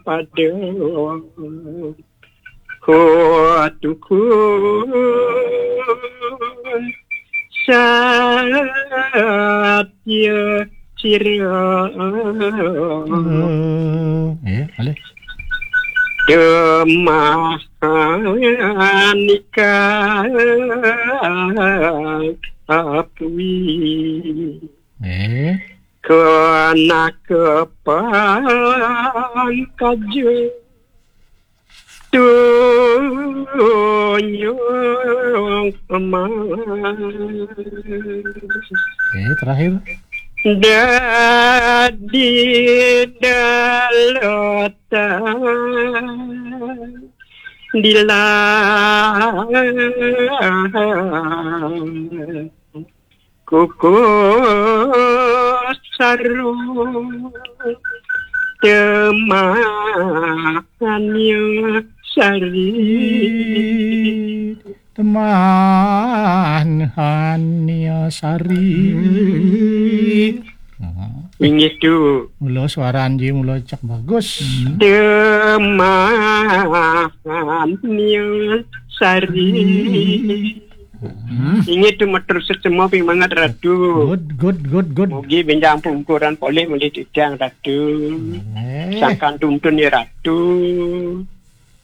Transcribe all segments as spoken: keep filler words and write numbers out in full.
pada kutukun satya sira. Eh, boleh. Demah nikah apui. Eh. Kena kepan kaja. Tunjuk emas. Eh, terakhir. Dadi dalatan dilah kukuh saru temahnya sari. Teman hanya sari. Nah, Inggih tu. Mula suara Anji mula cak bagus. Temahnya sari. Inggih tu matur sesama ping mangat Ratu. Good, good, good, good. Mugi benjang pungkuran polih mulih titiang Ratu. Eh. Sangkan tuntun ya Ratu.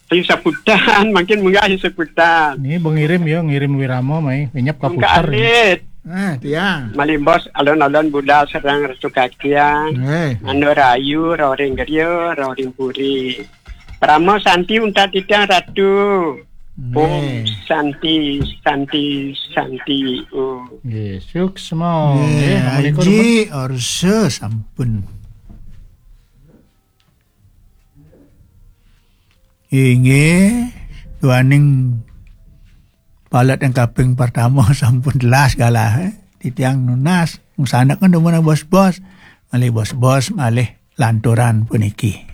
Ayo saputan, makin munggah ayo saputan. Ini bengirim ya, ngirim wirama mai, penyap Mungkin kaputar. alit. Ah, tiang. Malimbos alon-alon budal sareng Ratu Kakiang. Eh. Anu rayu, roring geria, roring puri. Parama Santi untat titiang Ratu. Om Eh. Santi, Santi, Santi. Om. Nggih, suksma. Nggih, Eh, assalamualaikum. Aji Orsa sampun. Inggih, duaning palet yang kaping pertama sampun jelas galah, eh. Titiang nunas, ngsanek kan demen bos-bos. Malih bos-bos, malih lanturan puniki.